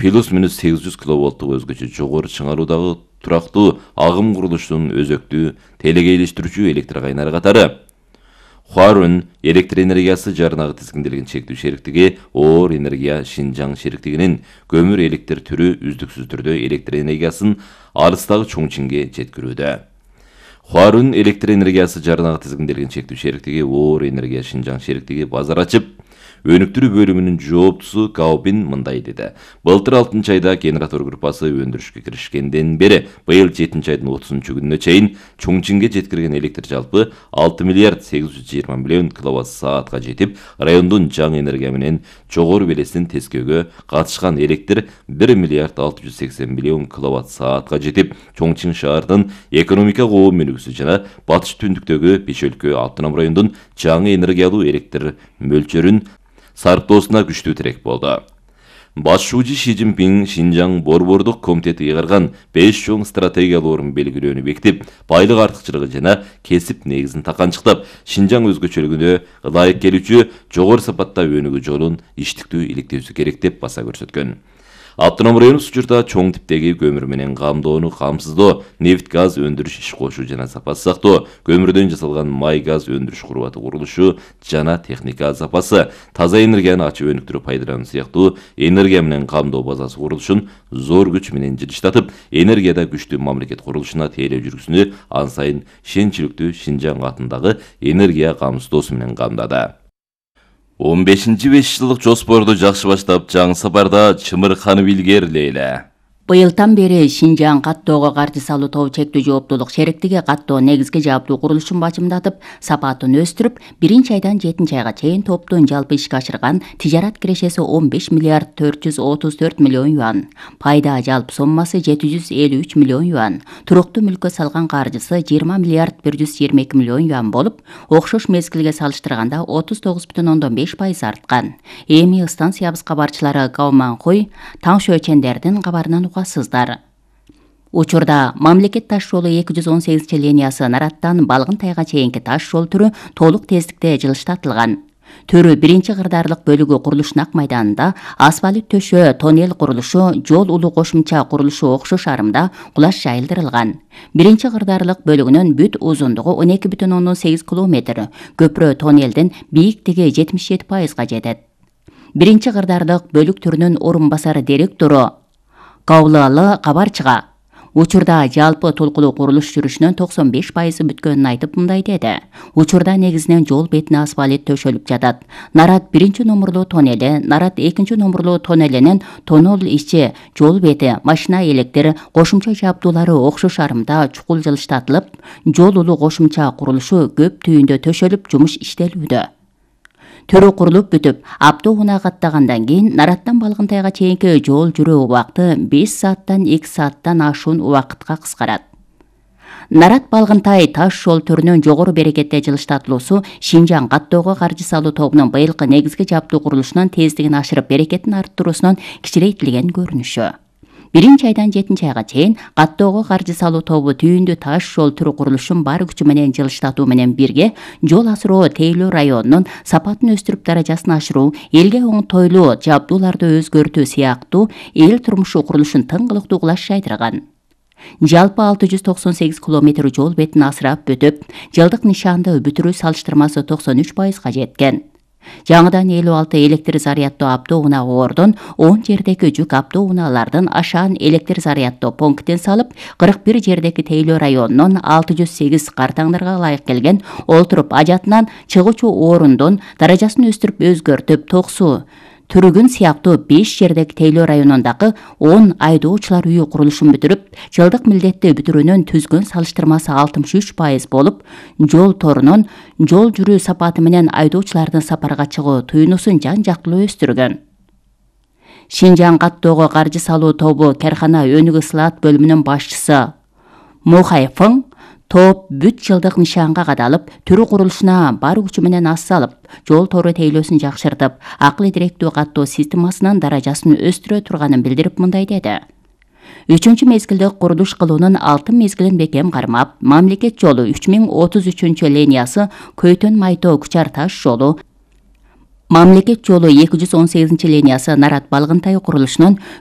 плюс-минус 800 киловолттук өзгөчө жогору чыңаруудагы турактуу агым курулуштун өзөктүү телекейлештирүүчү электр кайнары катары. Хуарун электр энергиясы жаранагы тизгинделген чектүү шериктиги оор энергия Шинжаң шериктигинин көмүр электр түрү үздүксүз түрдө электр энергиясын алыстагы Чоңчинге жеткирүүдө. Хуарун электр энергиясы жаранагы тизгинделген чектүү шериктиги оор энергия Шинжаң шериктиги базар ачып, өнүктүрүү бөлүмүнүн жооптусу Гаобин мындай деди. Былтыр 6-айда генератор группасы өндүрүшкө киришкенден бери быйыл 7-айдын 30-күнүнө чейин Чоңчинге жеткирген электр жалпы 6 миллиард 820 миллион киловатт саатка жетип, райондун жаңы энергия менен жогору белестин тескөөгө катышкан электр 1 миллиард 680 миллион киловатт саатка жетип, Чоңчин шаардын экономикалык өөнүгүүсү жана батыш түндүктөгү Беш өлкө автоном райондун жаңы энергиялуу электр мөлчөрүн сарптоосуна күчтүү тирек болду. Башчы Ши Цзиньпин Шинжаң борбордук комитети ыйгарган 5 чоң стратегиялык орун белгилөөнү бекитип, байлык артыкчылыгы жана кесип негизин таканчыктап, Шинжаң өзгөчөлүгүнө ылайык келүүчү жогору сапатта өнүгүү жолун иштиктүү иликтөөсү керек деп баса көрсөткөн. Автоном районубуз учурда чоң типтеги көмүр менен камдоону камсыздоо, нефть газ өндүрүш иш кошуу жана сапасы сактоо, көмүрдөн жасалган май газ өндүрүш курубаты курулушу жана техника запасы, таза энергияны ачып өнүктүрүп пайдалануу сыяктуу энергия менен камдоо базасы курулушун зор күч менен жылыштатып, энергияда күчтүү мамлекет курулушуна тейлөө жүргүзүүнү ан сайын шенчиликтүү Шинжаң атындагы энергия камсыздоосу менен камдады. 15-5 жылдык жоспорду жакшы баштап, жаңы сапарда чымырканып илгериле эле. Быйылдан бери Шинжаң каттоого каржы салуу тобу чектүү жооптуулук шериктиги каттоо негизги жабдуу курулушун бажымдатып, сапатын өстүрүп, 1-айдан 7-айга чейин топтун жалпы ишке ашырган тижарат кирешеси 15 миллиард 434 миллион юан, пайда жалпы соммасы 753 миллион юан, туруктуу мүлккө салган каржысы 20 миллиард 122 миллион юан болуп, окшош мезгилге салыштырганда 39,5% арткан. Эми станциябыз кабарчылары Гаоманхуй, Таңшөчендердин кабарынан угасыздар. Учурда мамлекет таш жолу 218 линиясы Нараттан Балгынтайга чейинки таш жол түрү толук тездикте жылыштатылган. Төрү 1-кырдаарлык бөлүгү курулуштун ак майданында, асфальт төшөө, тоннель курулушу, жол улуу кошумча курулушу окшош арымда кулаш жайылдырылган. 1-кырдаарлык бөлүгүнүн бүт узундугу 12,8 км, көпүрө тоннелдин бийиктиги 77%га жетет. 1-кырдаарлык бөлүк түрүнүн орун басары директору Каулалы кабарчыга учурда жалпы толкулуу курулуш жүрүшүнүн 95% бүткөнүн айтып мындай деди. Учурда негизинен жол бетине асфальт төшөлүп жатат. Нарат 1-номурлуу тоннели, Нарат 2-номурлуу тоннелинин тоннел ичи, жол бети, машина электр, кошумча жабдуулары окшош арымда чукул жылыштатылып, жол улуу кошумча курулушу көп түйүндө төшөлүп, жумуш иштелүүдө. Төрү курулуп бүтүп, Аптоуна каттагандан кийин Нараттан Балгынтайга чейинки жол жүрүү убакыты 5 сааттан 2 сааттан ашуун убакытка кыскарат. Нарат Балгынтай таш жол түрүнүн жогору берекетте жылыштатылуусу Шинжаң каттоого каржы салуу тобунун быйылкы негизги жабдуу курулушунун тездигин ашырып, берекетин арттыруусунун кичирейтилген көрүнүшү. 1-айдан 7-айга чейин каттоого каржы салуу тобу түйүндүү таш жол түрү курулушун бар күчү менен жылыштатуу менен бирге жол асыроо тейлөө районунун сапатын өстүрүп, даражасын ашыруу, элге оңтойлуу жабдууларды өзгөртүү сыяктуу эл турмушу курулушун тыңгылыктуу кулаш жайдырган. Жалпы 698 километр жол бетин асырап бүтүп, жылдык нишанды бүтүрүү салыштырмасы 93%га жеткен. Жаңыдан 56 электр заряддоо Аптоуна ордун 10 жердеги жүк Аптоуналардын ашаан электр заряддоо пунктин салып, 41 жердеги тейлөө районунун 608 картаңдарга ылайык келген олтуруп ажатынан чыгуучу орундун даражасын өстүрүп, өзгөртүп, токсу түрүгүн сыяктуу 5 жердеги тейлөө районундагы 10 айдоочулар үйү курулушун бүтүрүп, жылдык милдетти бүтүрүүнүн түзгөн салыштырмасы 63% болуп, жол торунун жол жүрүү сапаты менен айдоочулардын сапарга чыгуу туюнуусун жан-жактылуу өстүргөн. Шинжаң каттоого каржы салуу тобу каркана өнүгүү слаат бөлүмүнүн башчысы Мухайфың топ бүт жылдык нишанга кадалып, түрү курулушуна бар күчү менен ас салып, жол тору тейлөөсүн жакшыртып, акылы директүү каттоо системасынын даражасын өстүрө турганын билдирип мындай деди. 3 мезгилде курулуш кылуунун 6 мезгилин бекем кармап, мамлекет жолу 3033 линиясы Көйтөн Майтоо Кучар таш жолу, мамлекет жолу 218 линиясы Нарат Балгынтай курулушунун